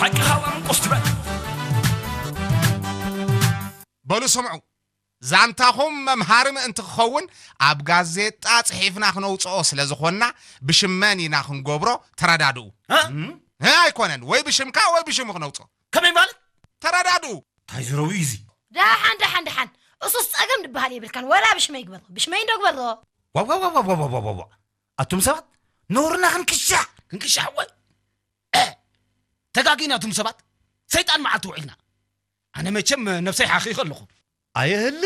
ሓቂ ሃዋም ቁስ ትበል። በሉ ስምዑ፣ ዛንታኹም መምሃሪ ምእንቲ ክኸውን ኣብ ጋዜጣ ጽሒፍና ክነውጽኦ ስለ ዝኾንና፣ ብሽመን ኢና ክንገብሮ። ተረዳድኡ። እ? እ? ኣይኮነን፣ ወይ ብሽምካ ወይ ብሽሙ ክነውጽኦ። ከመይ ማለት? ተረዳድኡ። እንታይ ዝረዊ እዩ እዚ? ደሓን ደሓን ደሓን፣ እሱስ ጸገም ዝበሃል የብልካን። ወላ ብሽመይ ግበሮ፣ ብሽመይ እንዶ ግበሮ። ዋው ዋው ዋው ዋው ዋው ዋው ዋው። ኣቱም ሰባት፣ ነውርና ክንክሻሕ። ክንክሻሕ ወይ? እ፣ ተጋጊና ኣቱም ሰባት። ሰይጣን መዓልቲ ውዒልና። ኣነ መቸም ነብሰይ ሓኺኸ ኣለኹ። ኣየህል